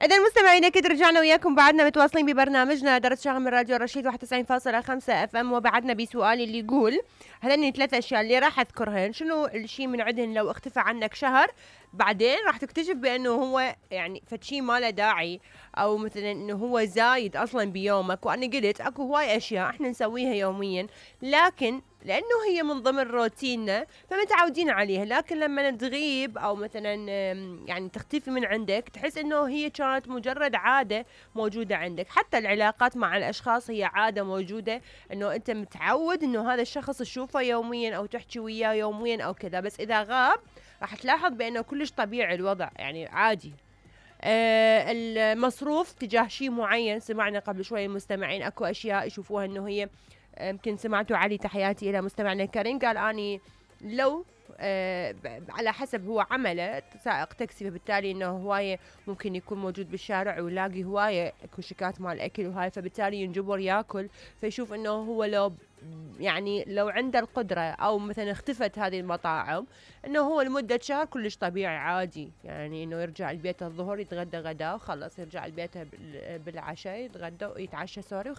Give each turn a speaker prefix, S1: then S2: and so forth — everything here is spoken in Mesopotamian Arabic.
S1: إذا المستمعين أكيد رجعنا وياكم بعدنا متواصلين ببرنامجنا درس شغل من راديو رشيد 91.5 اف ام، وبعدنا بسؤال اللي يقول هذني 3 أشياء اللي راح أذكرهن شنو الشيء من عدهن لو اختفى عنك شهر بعدين راح تكتشف بأنه هو يعني فشي ما له داعي، أو مثلا إنه هو زايد أصلا بيومك. وأنا قلت أكو هواي أشياء إحنا نسويها يوميا لكن لأنه هي من ضمن روتيننا فمتعودين عليها، لكن لما تغيب أو مثلا يعني تختفي من عندك تحس إنه هي كانت مجرد عادة موجودة عندك. حتى العلاقات مع الأشخاص هي عادة موجودة، إنه أنت متعود إنه هذا الشخص تشوفه يوميا أو تحكي وياه يوميا أو كذا، بس إذا غاب راح تلاحظ بأنه كلش طبيعي الوضع، يعني عادي. المصروف تجاه شيء معين، سمعنا قبل شوي المستمعين أكو أشياء يشوفوها إنه هي يمكن سمعتوا علي، تحياتي إلى مستمعنا كريم، قال أني لو على حسب هو عمله سائق تاكسي، فبالتالي انه هواية ممكن يكون موجود بالشارع ويلاقي هواية كشكات مال اكل وهاي، فبالتالي ينجبر ياكل. فيشوف انه هو لو يعني لو عنده القدرة او مثلا اختفت هذه المطاعم انه هو لمدة شهر كلش طبيعي عادي، يعني انه يرجع البيت الظهر يتغدى غدا وخلص، يرجع البيت بالعشاء يتغدى ويتعشى سوري